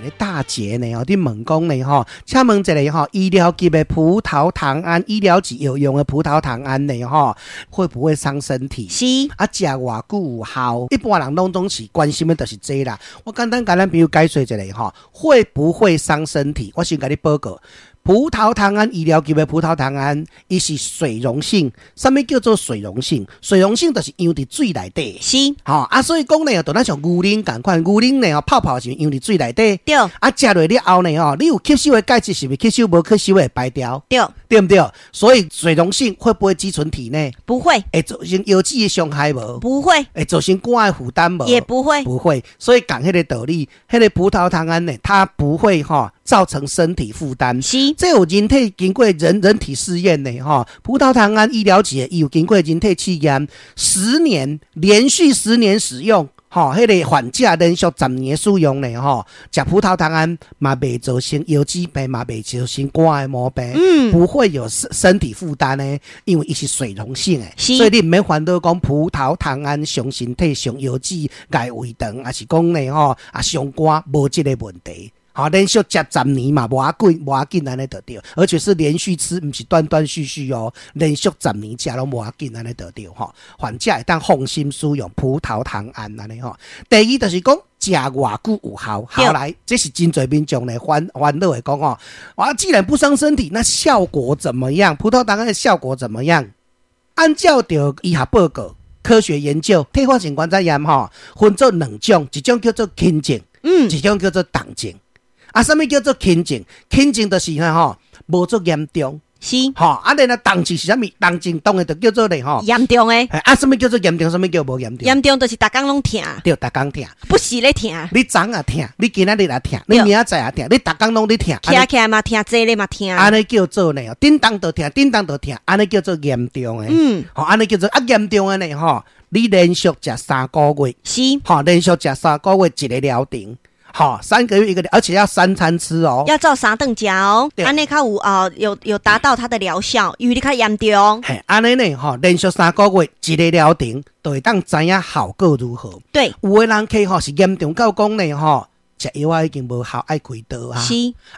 一个大姐呢吼，佇問講呢吼，請問一下吼，醫療級的葡萄糖胺，醫療級有用的葡萄糖胺呢吼，會不會傷身體？是。啊，食偌久有效？一般人攏總是關心的就是這啦。我簡單共咱朋友解說一下吼，會不會傷身體？我先共你報告。葡萄糖胺，醫療級的葡萄糖胺，伊是水溶性。啥物叫做水溶性？水溶性就是溶佇水內底。吼啊，所以講呢，就咱像牛奶仝款，牛奶呢泡泡是溶佇水內底。啊，食落了後呢吼，你有吸收的鈣質是毋是吸收，無吸收會排掉？對。對毋對？所以水溶性會不會積存體內？不會。會造成腰子的傷害無？不會。會造成肝的負擔無？也不會。不會。所以講彼个道理，彼个葡萄糖胺呢，它不會吼造成身體負擔。這有人體經過人體試驗的吼，葡萄糖胺醫療級的，伊有經過人體試驗，十年連續十年使用，吼，彼个患者連續十年使用呢，吼，食葡萄糖胺嘛袂造成腰子病，嘛袂造成肝的毛病，不會有身體負擔呢，因為伊是水溶性的，所以你毋免煩惱講葡萄糖胺傷身體、傷腰子、礙胃腸，抑是講呢吼啊傷肝，無這個問題。好，連續食十年嘛，無要緊，無要緊按呢就對，而且是連續吃，毋是斷斷續續哦，連續十年食攏無要緊按呢就對吼。患者會當放心使用葡萄糖胺按呢吼。第二就是講食偌久有效，好來，這是真濟民眾咧煩惱的講吼。哇，既然不傷身體，那效果怎麼樣？葡萄糖胺的效果怎麼樣？按照著醫學報告、科學研究，退化性關節炎吼，分做兩種，一種叫做輕症，一種叫做重症。啊，啥物叫做輕症？輕症就是吼，無足嚴重。吼，啊，然後重症是啥物？重症當然就叫做咧吼。嚴重的。啊，啥物叫做嚴重？啥物叫無嚴重？嚴重就是逐工攏疼。對，逐工疼。不時咧疼。你昨也疼，你今仔日也疼，你明仔載也疼，你逐工攏咧疼。徛起來嘛疼，坐咧嘛疼。按呢叫做呢，叮當就疼，叮當就疼，按呢叫做嚴重的。吼，按呢叫做啊嚴重的呢吼，你連續食三個月。吼，連續食三個月一個療程。好，三個月一個，而且要三餐吃哦。要照三頓食哦，按呢較有啊，有達到它的療效，因為你較嚴重。嘿，按呢呢，吼，連續三個月一個療程，就會當知影效果如何。有的人客吼是嚴重到講呢，吼，食藥仔已經無效，愛開刀啊。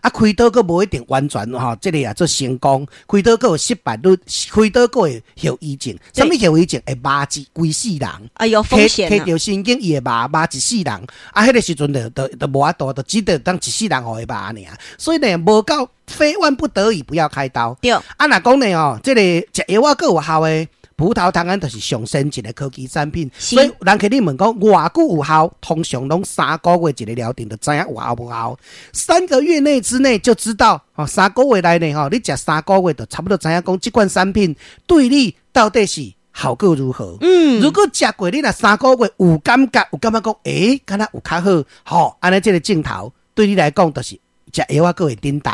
啊，開刀閣無一定完全吼，這個也做成功，開刀閣有失敗率，開刀閣會後遺症。啥物後遺症？會麻一規世人。哎有風險。提著神經伊會麻麻一世人。啊，彼個時陣就無法度，就只得當一世人予伊麻爾。所以呢，無到非萬不得已不要開刀。啊，若講呢吼，這個食藥仔閣有效的。葡萄糖胺就是上先進的科技產品，所以人客你問講偌久有效，通常攏三個月一個療程就知影有效無效。三個月內之內就知道，吼，三個月內呢，吼，你食三個月就差不多知影講這款產品對你到底是效果如何。如果食過你若三個月有感覺，有感覺講，欸，敢若有較好，吼，按呢這個症頭對你來講就是食藥仔閣會振動。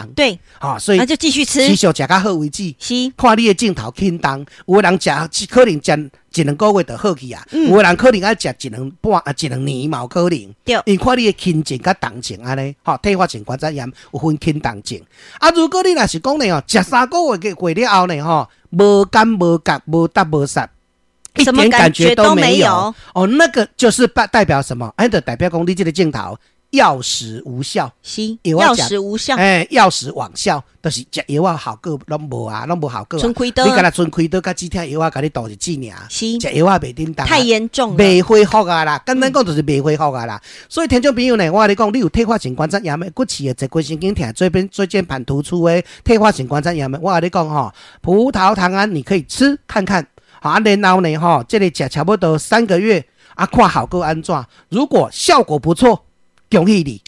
吼，所以那就繼續吃，持續食較好為止。看你的症頭輕重，有的人食可能食一兩個月就好去啊，有的人可能愛食一兩半啊，一兩年嘛有可能。因為看你的輕症佮重症按呢，吼，退化性關節炎有分輕重症。啊，如果你若是講呢吼，食三個月過了後呢吼，無感無覺，無答無殺，一點感覺都沒有。哦，那個就是代表什麼？哎，就代表講你這個症頭。藥石無效，是藥石無效，哎，藥石罔效，就是食藥仔效果攏無啊，攏無效果。賰開刀，你敢若賰開刀，佮止疼藥仔共你導日子爾。食藥仔袂振動，太嚴重，袂恢復啊啦。簡單講就是袂恢復啊啦。所以聽眾朋友呢，我共你講，你有退化性關節炎的，骨刺的、坐骨神經疼、椎間盤突出的退化性關節炎的，我共你講吼，葡萄糖胺你可以吃看看，好，然後呢吼，這個食差不多三個月，啊，看效果按怎？如果效果不錯，恭喜你，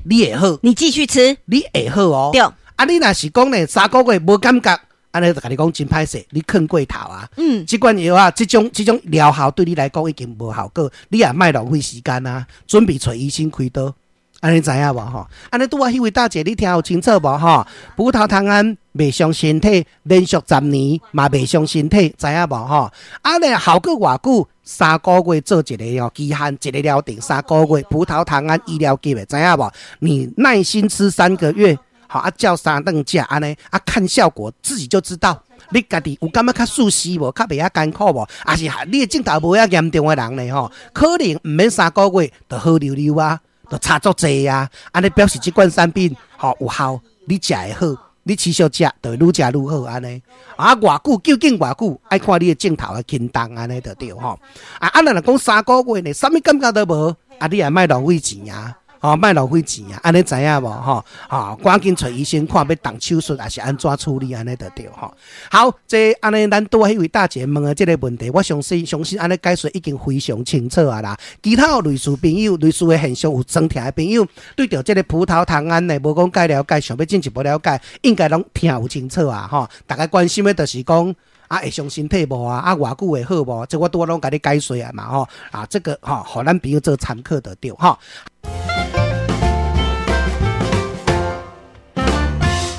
你會好，你繼續吃，你會好哦。對，啊，你若是講呢，三個月無感覺，按呢就共你講真歹勢，你睏過頭啊。這款藥啊，這種療效對你來講已經無效果，你也莫浪費時間啊，準備揣醫生開刀。按呢知影無吼？按呢拄仔彼位大姐，你聽有清楚無吼？葡萄糖胺袂傷身體，連續十年嘛袂傷身體，知影無吼？啊，呢效果偌久？三個月做一個哦期限，一個療程三個月，葡萄糖胺醫療級的，知影無？你耐心吃三個月，好啊，照三頓食按呢啊，看效果自己就知道。你家己有感覺較舒適無？較袂遐艱苦無？抑是你的症頭無遐嚴重的人呢？吼，可能毋免三個月就好溜溜啊。就差足濟啊！按呢表示這款產品吼有效，你食會好，你持續食就會愈食愈好按呢。啊，偌久究竟偌久，愛看你的症頭的輕重按呢就對吼。啊，咱若講3個月呢，啥物感覺都無，啊，你也莫浪費錢啊！吼，莫浪費錢啊！按呢知影無？吼，吼，趕緊揣醫生看欲動手術，抑是按怎處理按呢就對吼。好，這按呢，咱拄彼位大姐問的這个問題，我相信相信按呢解說已經非常清楚啊啦。其他有類似朋友、類似的現象有裝聽的朋友，對著這个葡萄糖胺呢，無講較了解，想欲進一步了解，應該攏聽有清楚啊！吼，大家關心的就是講，啊，會傷身體無啊？啊，偌久會好無？這我拄仔攏共你解說啊嘛吼。啊，這个吼，予咱朋友做參考就對吼。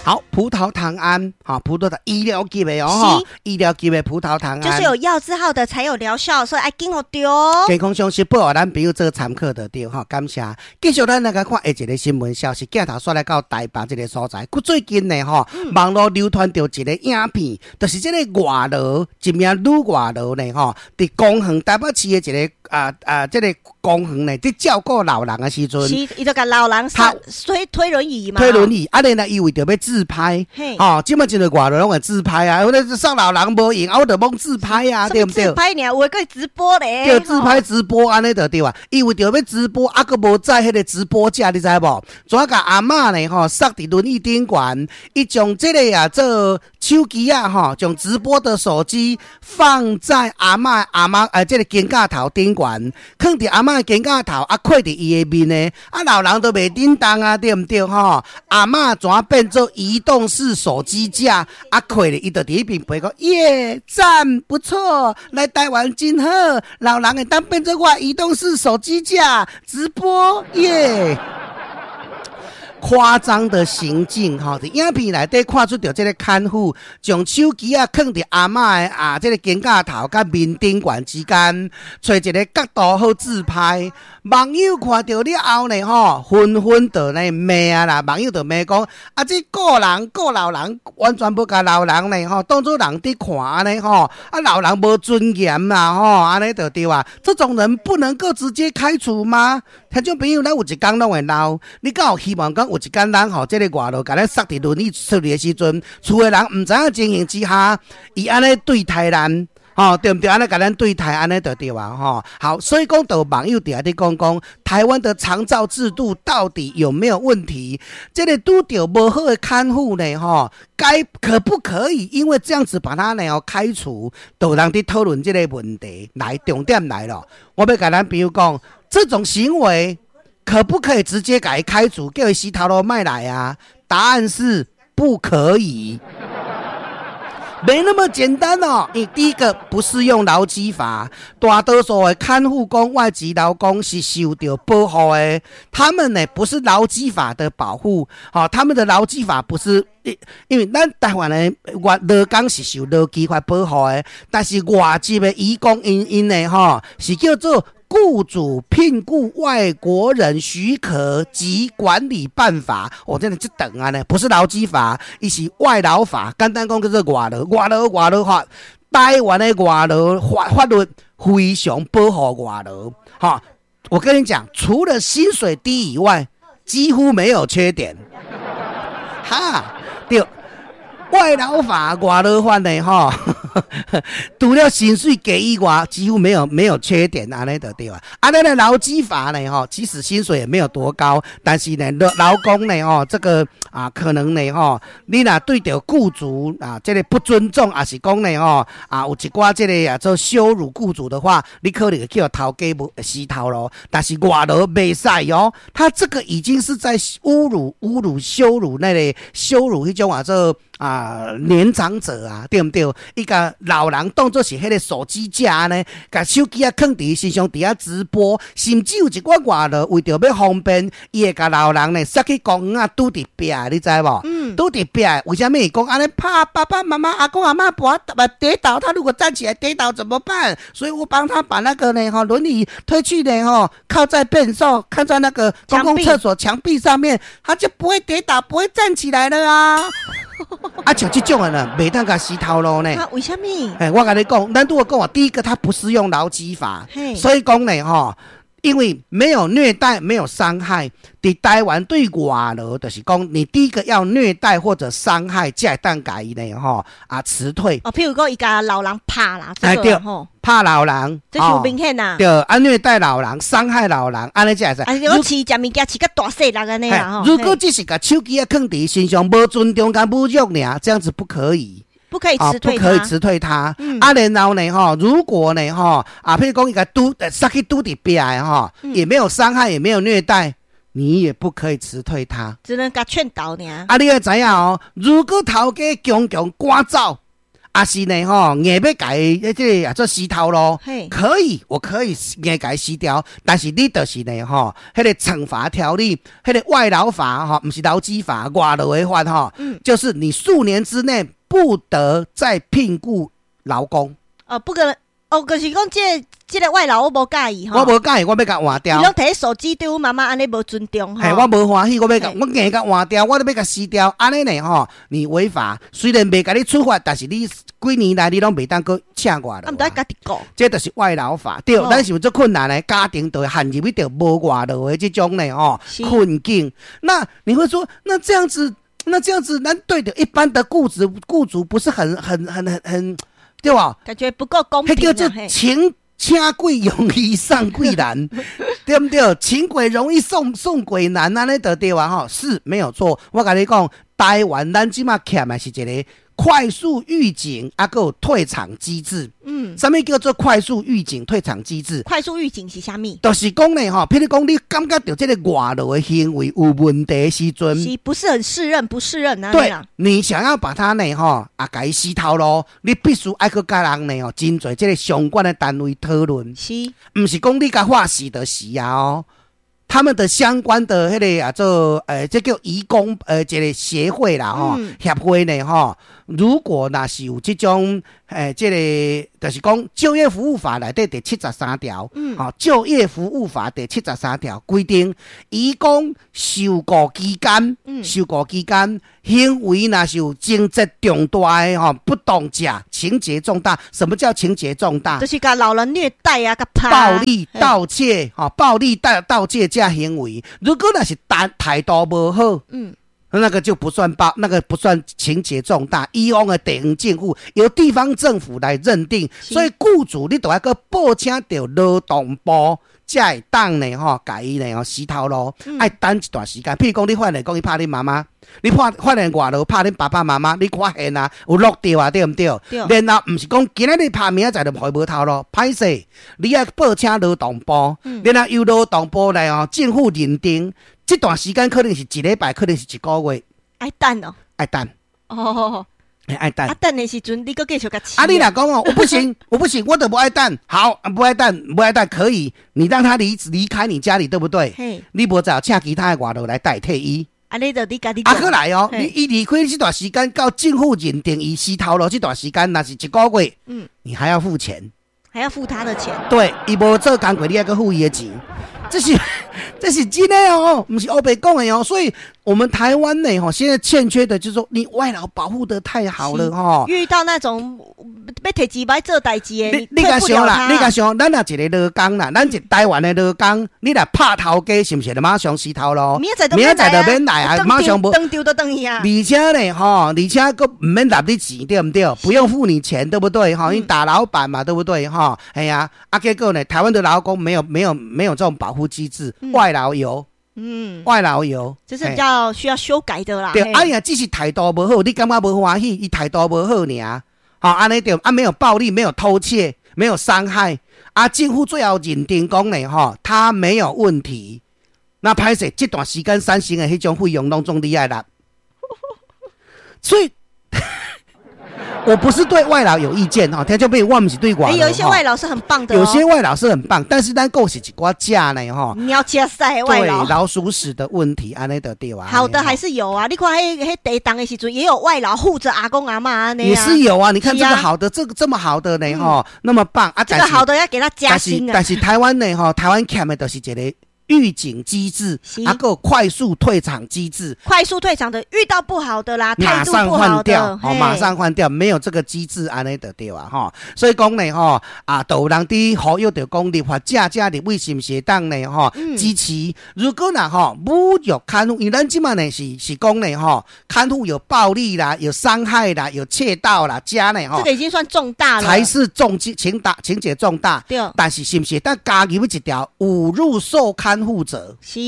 好，葡萄糖胺，好，葡萄糖醫療級的哦，醫療級的葡萄糖胺，就是有藥字號的才有療效，所以愛緊予著。健康常識報予咱朋友做參考就對吼，感謝。繼續咱來看下一个新聞消息，鏡頭煞來到台北這个所在。閣最近呢，吼，網路流傳著一个影片，就是這个外勞，一名女外勞呢，吼，佇公園台北市的一个這个公園呢，佇照顧老人的時陣，是，伊就共老人推推輪椅嘛，推輪椅，啊，然後伊為著欲自拍，吼，這擺真濟外勞攏會自拍啊，我咧送老人無閒，啊，我就罔自拍啊，對毋對？自拍爾，有的閣直播咧，對，自拍直播按呢就對啊。伊為著欲直播，啊，閣無載彼个直播架，你知無？怎共阿嬤呢？吼，塞佇輪椅頂懸，伊將這个啊做手機啊，吼，將直播的手機放在阿嬤阿嬤這个肩胛頭頂懸，囥佇阿嬤的肩胛頭，啊，扣佇伊的面呢，啊，老人都袂振動啊，對毋對？吼，阿嬤怎變做移動式手機架？啊，扣咧，伊就佇彼邊陪講，耶，讚，不錯，來台灣真好，老人會當變做我移動式手機架直播，耶。誇張的行徑，吼，佇影片內底看出著這个看護將手機仔囥佇阿嬤的啊，這个肩胛頭佮面頂懸之間，揣一个角度好自拍。網友看著了後呢，吼，紛紛就咧罵啊啦，網友就罵講，啊，這顧人顧老人，完全無共老人呢，吼，當做人佇看按呢，吼，啊，老人無尊嚴啦，吼，按呢就對啊。這種人不能夠直接開除嗎？聽眾朋友，咱有一工攏會老，你敢有希望講有一工咱吼，這个外勞共咱塞佇輪椅出去的時陣，厝的人毋知影情形之下，伊按呢對待咱，吼，對毋對？按呢共咱對待，按呢就對啊，吼。好，所以講，就網友佇遐佇講講，台灣的長照制度到底有沒有問題？這个拄著無好的看護呢，吼，該可不可以因為這樣子把他呢開除？就有人佇討論這个問題。來，重點來了，我欲共咱朋友講，這種行為可不可以直接共伊開除，叫伊死頭路莫來啊？答案是不可以。沒那麼簡單哦。你第一個不適用勞基法，大多數的看護工、外籍勞工是受著保護的，他們呢不是勞基法的保護，好，他們的勞基法不是，因為咱台灣的外勞工是受勞基法保護的，但是外籍的移工𪜶𪜶呢，吼，是叫做雇主聘雇外國人許可及管理辦法，哦，真的這長啊呢，不是勞基法，伊是外勞法。簡單講叫做外勞，外勞外勞法，台灣的外勞法法律非常保護外勞。哈，我跟你講，除了薪水低以外，幾乎沒有缺點。哈，對。外勞法、外勞法呢？吼，除了薪水低以外，幾乎沒有缺點，按呢就對啊。啊，咱的勞基法呢？吼，其實薪水也沒有多高，但是呢，勞勞工呢，吼，這個啊，可能呢，吼，你若對著雇主啊，這个不尊重，抑是講呢，吼，啊，有一寡這个啊，做羞辱雇主的話，你可能會去予頭家無死頭路。但是外勞袂使哦，他這個已經是在侮辱、侮辱、羞辱那个羞辱彼種啊做啊年長者啊，對毋對？伊共老人當做是彼个手機架呢，共手機仔囥佇伊身上，佇遐直播，甚至有一寡外勞為著欲方便，伊會共老人呢塞去公園仔拄佇壁，你知無？拄佇壁，為啥物？講按呢怕爸爸媽媽、阿公阿嬤跌倒，他如果站起來跌倒怎麼辦？所以我幫他把那個呢，吼輪椅推去呢，吼靠在便所，靠在那個公共廁所牆壁上面，他就不會跌倒，不會站起來了啊！啊，像這種的呢，袂當共死頭路呢。啊，為啥物？哎，我共你講，咱拄仔講啊，第一個，他不適用勞基法，所以講呢，吼。因為沒有虐待，沒有傷害。佇台灣對外勞，就是講你第一個要虐待或者傷害，才會當共伊呢吼啊辭退。哦，譬如講伊共老人拍啦，哎對，拍老人，這就明顯啦。對，啊虐待老人，傷害老人，按呢才會使。啊，如果飼食物件飼較大細粒按呢啦吼。如果只是共手機仔囥佇身上，無尊重佮侮辱爾，這樣子不可以。不可以辭退不可以辭退他。啊，然後呢，吼，如果呢，吼，啊，譬如講伊共拄，殺去拄佇壁的吼，也沒有傷害，也沒有虐待，你也不可以辭退他。只能共勸導爾。啊，你愛知影哦，如果頭家強強趕走，抑是呢，吼，硬欲共伊這個啊做辞頭路，可以，我可以硬共伊辭掉，但是你就是呢，吼，彼個懲罰條例，彼個外勞法，吼，毋是勞基法，外勞的法，吼，就是你數年之內不得再聘僱勞工。哦，不可能，哦，就是講這個外勞我無佮意吼，我無佮意，我欲共換掉。伊攏提手機對阮媽媽按呢無尊重。嘿，我無歡喜，我欲共，我硬共換掉，我都欲共辭掉。按呢呢吼，你違法，雖然袂共你處罰，但是你幾年來你攏袂當閣請外勞。啊，毋得家己顧。這就是外勞法，對，咱是有足困難的家庭，就會陷入去著無外勞的這種呢吼困境。那你會說，那這樣子？那這樣子，那對的，一般的僱主僱主不是很很很很很，對吧？感覺不夠公平。彼叫做請鬼容易送鬼難，對毋對？請鬼容易送鬼難，按呢就對啊吼，是沒有錯。我共你講，台灣咱這馬欠的是一個快速預警，啊，閣有退場機制。啥物叫做快速預警退場機制？快速預警是啥物？就是講呢，吼，譬如講你感覺著這個外勞的行為有問題的時陣，是不是很適任？不適任啊？對，你想要把他呢，吼，啊，共伊辭頭路，你必須愛去共人呢，吼，真濟這個相關的單位討論。毋是講你共話死就死啊哦。他們的相關的彼個啊做，這叫移工，一個協會啦，吼，協會呢，吼，如果若是有這種，這個就是講就業服務法內底第73條，吼，就業服務法第73條規定，移工受僱期間，受僱期間行為若是有情節重大的吼，不當者，情節重大。什麼叫情節重大？就是共老人虐待啊，共拍暴力盜竊，吼，暴力盜竊這行為，如果若是單態度無好，那個就不算暴，那個不算情節重大。以往的地方政府由地方政府來認定，所以僱主你都愛閣報請著勞動部，才會當呢吼，共伊呢吼辭頭路，愛等一段時間。譬如講，你發現講伊拍恁媽媽，你發現外勞拍恁爸爸媽媽，你發現啊有錄著啊，對毋對？然後毋是講今仔日拍，明仔載就予伊無頭路，歹勢，你愛報請勞動部，然後由勞動部來吼政府認定。這段時間可能是一禮拜，可能是一個月。愛等哦，愛等。哦，愛等。啊，等的時陣，你閣繼續共飼。啊，你若講哦，我不行，我不行，我都無愛等。好，不愛等，不愛等，可以，你讓他離開你家裡，對不對？你無就請其他的外勞來代替伊。啊，你就你家己。啊，閣來哦，你伊離開這段時間到政府認定伊辭頭路這段時間，若是一個月，你還要付錢，還要付他的錢。對，伊無做工課，你還閣付伊的錢。這是真的哦，毋是烏白講的哦。所以，我們台灣呢，吼，現在欠缺的就是說，你外勞保護得太好了，吼。遇到那種欲提錢欲做代誌的，你共想啦，你共想，咱若一個勞工啦，咱一台灣的勞工，你若拍頭家，是毋是就馬上辭頭路？明仔載就免來啊，馬上無。當場就轉去啊。而且呢，吼，而且閣毋免納你錢，對毋對？不用付你錢，對不對？吼，你打老闆嘛，對不對？吼，哎呀，啊，結果呢，台灣的勞工沒有這種保護機制，外勞有。外勞有，這是比較需要修改的啦。對，哎呀，只是態度無好，你感覺無歡喜，伊態度無好爾，吼，按呢對，啊，沒有暴力，沒有偷竊，沒有傷害，啊，政府最後認定講呢，吼，他沒有問題。那歹勢，這段時間產生的彼種費用攏總你愛納。所以，我不是對外勞有意見哈，聽眾朋友，我毋是對外勞。有一些外勞是很棒的，有些外勞是很棒，但是咱閣是一寡食呢吼。你要加塞外勞。對，老鼠屎的問題，按呢就對啊。好的還是有啊，你看彼地動的時陣，也有外勞護著阿公阿嬤按呢。也是有啊，你看這個好的，這個這麼好的呢吼，那麼棒啊！這個好的要給他加薪啊。但是台灣呢吼，台灣欠的就是一個。預警機制，啊，閣有快速退場機制。快速退場的，遇到不好的啦，馬上換掉，哦，馬上換掉，沒有這個機制按呢就對啊，吼。所以講呢，吼，啊，就有人佇呼籲著講立法者遮立委是毋是會當呢，吼，支持。如果若吼侮辱看護，因為咱這馬呢是講呢，吼，看護有暴力啦，有傷害啦，有竊盜啦，加呢，吼，這個已經算重大了，才是重情大情節重大。對，但是是毋是會當加入一條侮辱受看護者？是。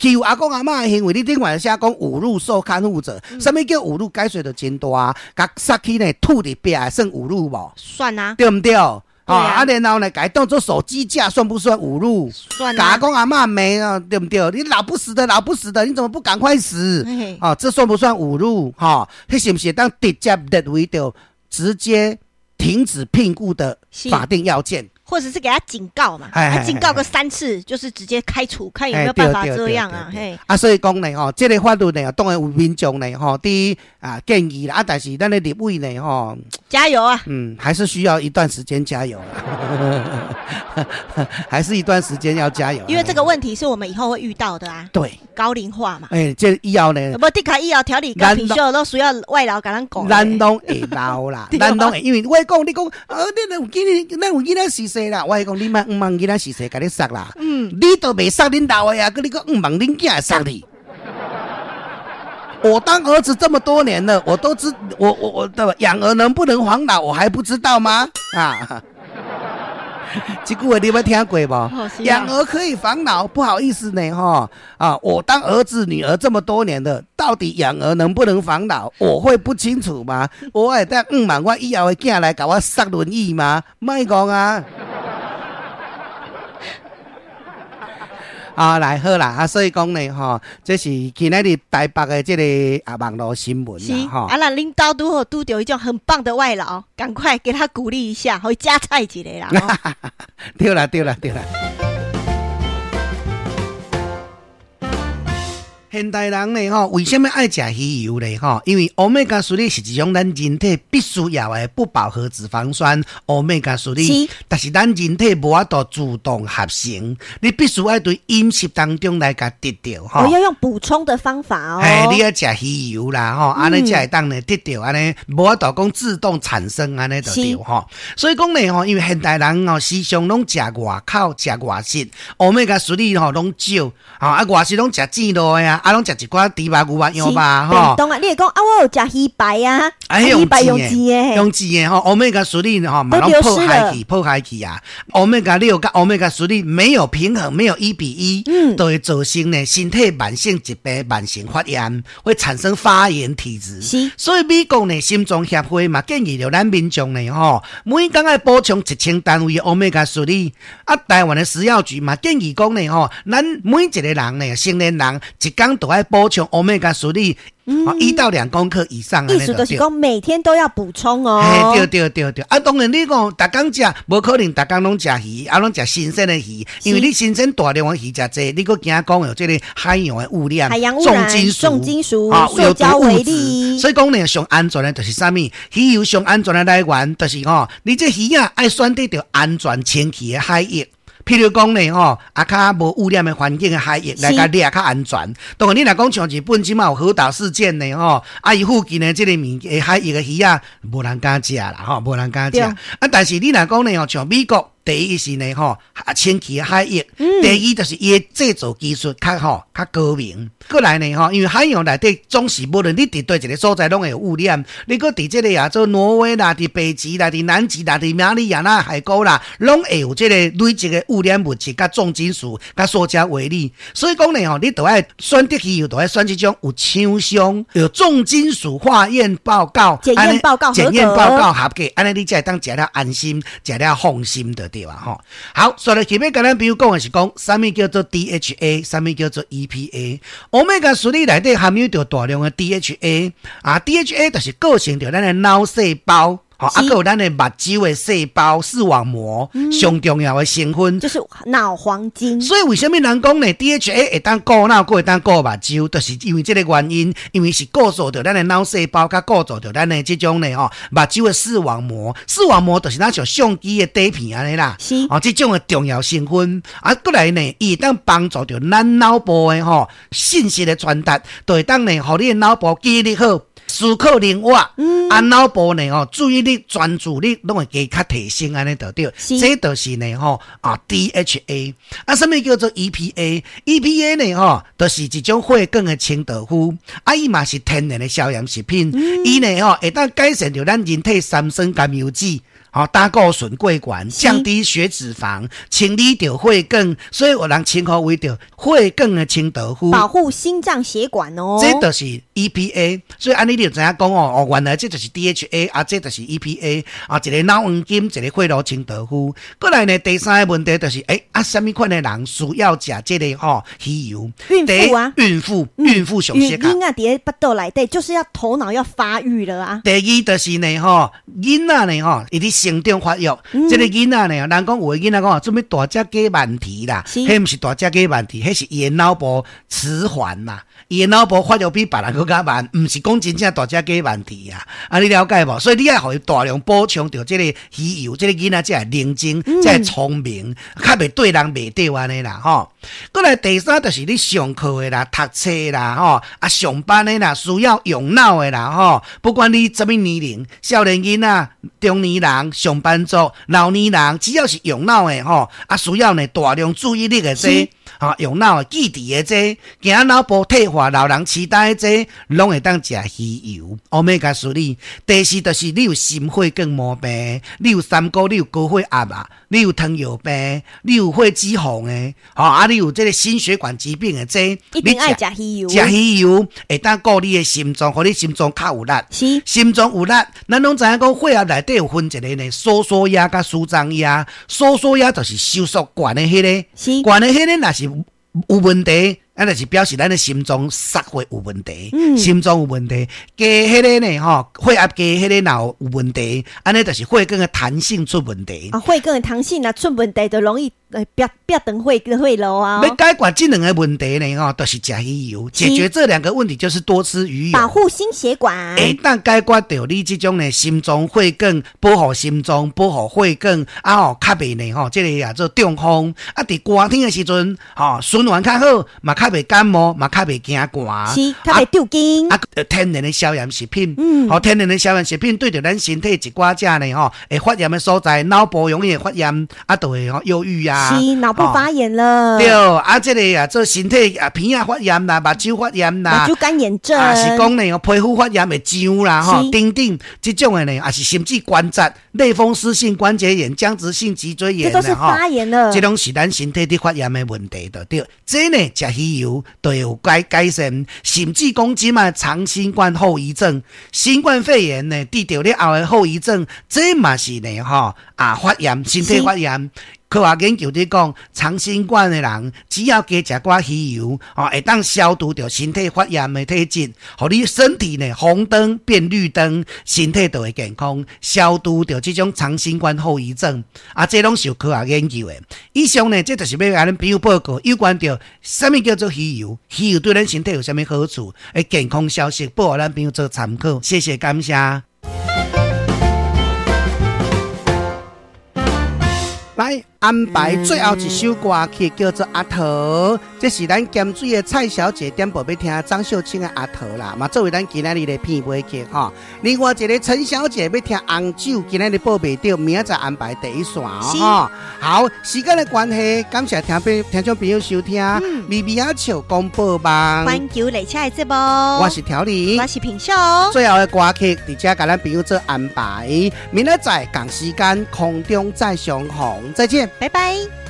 欺負阿公阿嬤的行為，你頂懸寫講侮辱受看護者，啥物叫侮辱？解說就真大，共殺去呢吐佇壁算侮辱無？算啊，對毋對？啊，然後呢，共伊當做手機架，算不算侮辱？算啊。共阿公阿嬤罵啊，對毋對？你老不死的，老不死的，你怎麼不趕快死？啊，這算不算侮辱？哈，彼是毋是當直接列為著直接停止聘僱的法定要件？或者是給他警告嘛，他警告個三次，就是直接開除，看有沒有辦法這樣啊？嘿，啊，所以講呢，吼，這個法律呢，當然有民眾呢，吼，佇啊建議啦，啊，但是咱的立委呢，吼，加油啊！嗯，還是需要一段時間加油，還是一段時間要加油，因為這個問題是我們以後會遇到的啊。對，高齡化嘛。欸，這以後呢，無的確以後調理跟退休都需要外勞共咱顧。咱攏會老啦，咱攏會，因為我講你講，恁有囡，咱有囡仔是勢啦，我講你莫向望囡仔序細共你捒啦，你都袂捒恁老的啊，閣你閣向望恁囝會捒你。我當兒子這麼多年了，我都知我對吧？養兒能不能防老，我還不知道嗎？啊，這句話你捌聽過無？養兒可以防老，不好意思呢，哈啊！我當兒子女兒這麼多年了，到底養兒能不能防老，我會不清楚嗎？我會當向望我以後的囝來共我捒輪椅嗎？莫講啊！啊，來好啦，啊，所以講呢，吼，這是今仔日台北的這個啊網路新聞啦，吼。啊，那恁兜拄好拄著一種很棒的外勞，趕快給他鼓勵一下，予伊加菜一下啦。對啦，對啦，對啦。現代人呢，吼，為啥物愛食魚油呢？吼，因為歐米伽三是一種咱人體必須要的不飽和脂肪酸，歐米伽三。但是咱人體無法度自動合成，你必須愛對飲食當中來共得著吼。我要用補充的方法哦。嘿，你愛食魚油啦，吼，按呢才會當呢得著按呢，無法度講自動產生按呢就對吼。所以講呢，吼，因為現代人吼時常攏食外口、食外食，歐米伽三吼攏少，吼啊外食攏食煎落的啊。啊，攏食一寡豬肉、牛肉、羊肉吼。當啊，你會講啊，我有食魚排啊，魚排用煎的，用煎的吼，歐米伽三吼嘛攏破壞去，破壞去啊。歐米伽六佮歐米伽三沒有平衡，沒有1比1，都會造成呢身體慢性疾病、慢性發炎，會產生發炎體質。是，所以美國呢心臟協會嘛建議著咱民眾呢吼，每工愛補充1000單位的歐米伽三。啊，台灣的食藥局嘛建議講呢吼，咱每一個人呢，成年人一工都愛補充歐米伽三，1到2公克以上。意思就是講每天都要補充哦。對對對對，啊，當然你講逐工食，無可能逐工攏食魚，啊，攏食新鮮的魚，因為你新鮮大量的魚食濟，你閣驚講有這個海洋的污染、海洋污染、重金屬、塑膠微粒。所以講呢，上安全的就是啥物？魚油上安全的來源就是吼，你這魚仔愛選擇著安全清氣的海域。譬如講呢，吼，啊，較無污染的環境的海域來共掠較安全。當然，你若講像日本這馬有核島事件呢，吼，啊，伊附近的這個物件海域的魚仔，無人敢食啦，吼，無人敢食。啊，但是你若講呢，吼，像美國。第一是呢，吼，清氣的海域；第二就是伊的製造技術較吼較高明。過來呢，吼，因為海洋內底總是無論你佇佗一個所在，攏會有污染。你閣佇這個亞洲挪威啦，佇北極啦，佇南極啦，佇馬里亞納海溝啦，攏會有這個累積的污染物質、佮重金屬、佮塑膠微粒。所以講呢，吼，你著愛選擇魚油，著愛選這種有廠商有重金屬化驗報告、檢驗報告、檢驗報告合格，按呢你才會當食了安心，食了放心的。對吧？吼，好，所以前面共咱朋友講的是講，啥物叫做 DHA，啥物叫做 EPA。歐米伽三內底含有著大量的 DHA，啊，DHA 就是構成著咱的腦細胞。吼，啊，閣有咱的目睭的細胞視網膜上重要的成分，就是腦黃金。所以為啥物人講呢？DHA 會當顧腦，閣會當顧目睭，就是因為這个原因，因為是構造著咱的腦細胞，佮構造著咱的這種呢吼目睭的視網膜，視網膜就是若像相機的底片按呢啦。哦，這種的重要成分，啊，閣來呢，伊會當幫助著咱腦部的吼信息的傳達，就會當呢，予你的腦部記憶力好，思考靈活，啊，腦部呢吼注意力、專注力攏會加較提升，按呢就對。這就是呢吼啊 DHA，啊，啥物叫做 EPA？EPA 呢吼，就是一種血管的清道夫，啊，伊嘛是天然的消炎食品，伊呢吼會當改善著咱人體三酸甘油酯。吼，膽固醇過懸，降低血脂肪，清理著血管，所以有人稱呼為著血管的清道夫，保護心臟血管哦。這就是 EPA，所以按呢你就知影講哦，哦，原來這就是 DHA，啊，這就是 EPA，啊，一个腦黃金，一个血路清道夫。閣來呢，第三个問題就是，欸，啊，啥物款的人需要食這个吼魚油？孕婦啊，孕婦，孕婦上適合。囡仔佇咧腹肚內底，就是要頭腦要發育了啊。第二就是呢，吼，囡仔呢，吼，伊佇成長發育，這个囡仔呢，人講有的囡仔講啊，做啥物大隻雞慢啼啦？彼毋是大隻雞慢啼，彼是伊的腦部遲緩啦，伊的腦部發育比別人閣較慢，毋是講真正大隻雞慢啼啊！啊，你了解無？所以你愛予伊大量補充著這个魚油，這个囡仔才會靈精，才會聰明，較袂對人袂對按呢啦吼。閣來第三就是你上課的啦、讀冊啦、吼啊上班的啦，需要用腦的啦吼，不管你啥物年齡，少年囡仔、中年人、上班族、老年人，只要是用腦的吼，啊需要呢大量注意力的這，吼用腦的記憶的這，驚腦部退化、老人痴呆的這，攏會當食魚油、歐米伽三。第四就是你有心血管毛病，你有三高，你有高血壓啊，你有糖尿病，你有血脂肪的，吼啊，你有這个心血管疾病的這，一定愛食魚油。食魚油會當顧你的心臟，予你心臟較有力。心臟有力，咱攏知影講血壓內底有分一个呢，收縮壓佮舒張壓。收縮壓就是收縮懸的彼个，懸的彼个若是有問題，啊，就是表示咱的心臟塞血有問題，心臟有問題。加彼个呢，吼，血壓低彼个若有問題，按呢就是血管的彈性出問題。啊，血管的彈性若出問題，就容易煏煏斷血路啊。欲解決這兩个問題呢，吼，就是食魚油。解決這兩個問題就是多吃魚油，保護心血管。會當解決著你這種呢心臟血管，保護心臟，保護血管，啊吼，較袂呢吼，這个啊做中風。啊，佇寒天的時陣，吼，循環較好，嘛較袂感冒，嘛較袂驚寒，是，較袂抽筋。啊，天然的消炎食品，吼，天然的消炎食品對著咱身體一寡隻呢，吼，會發炎的所在，腦部容易會發炎，啊，就會吼憂鬱啊。是，腦部發炎了。對，啊，這个啊，做身體啊，鼻仔發炎啦，目睭發炎啦，目睭乾眼症，啊，是講呢，皮膚發炎會癢啦，吼，等等，這種的呢，也是甚至關節、類風濕性關節炎、僵直性脊椎炎，這都是發炎了。這攏是咱身體佇發炎的問題，就對。這呢，食魚油就會有改善，甚至講這擺長新冠後遺症、新冠肺炎呢，得著了後的後遺症，這嘛是呢，吼啊發炎，身體發炎。科學研究佇講，長新冠的人只要加食寡魚油，吼，會當消除著身體發炎的體質，予你身體呢紅燈變綠燈，身體就會健康，消除著這種長新冠後遺症。啊，這攏是有科學研究的。以上呢，這就是欲共恁朋友報告有關著啥物叫做魚油，魚油對咱身體有啥物好處的健康消息，報予咱朋友做參考。謝謝，感謝。來安排最後一首歌曲，叫做《阿桃》，這是咱鹹水的蔡小姐點播欲聽張秀卿的《阿桃》啦，嘛作為咱今仔日的片尾曲吼。另外一个陳小姐欲聽《紅酒》，今仔日報袂著，明仔載安排第一線哦。好，時間的關係，感謝聽眾朋友收聽微微仔笑廣播網環球列車的節目。我是調理，我是品秀。最後的歌曲，佇遮共咱朋友做安排，明仔載仝時間空中再相逢。再見，拜拜。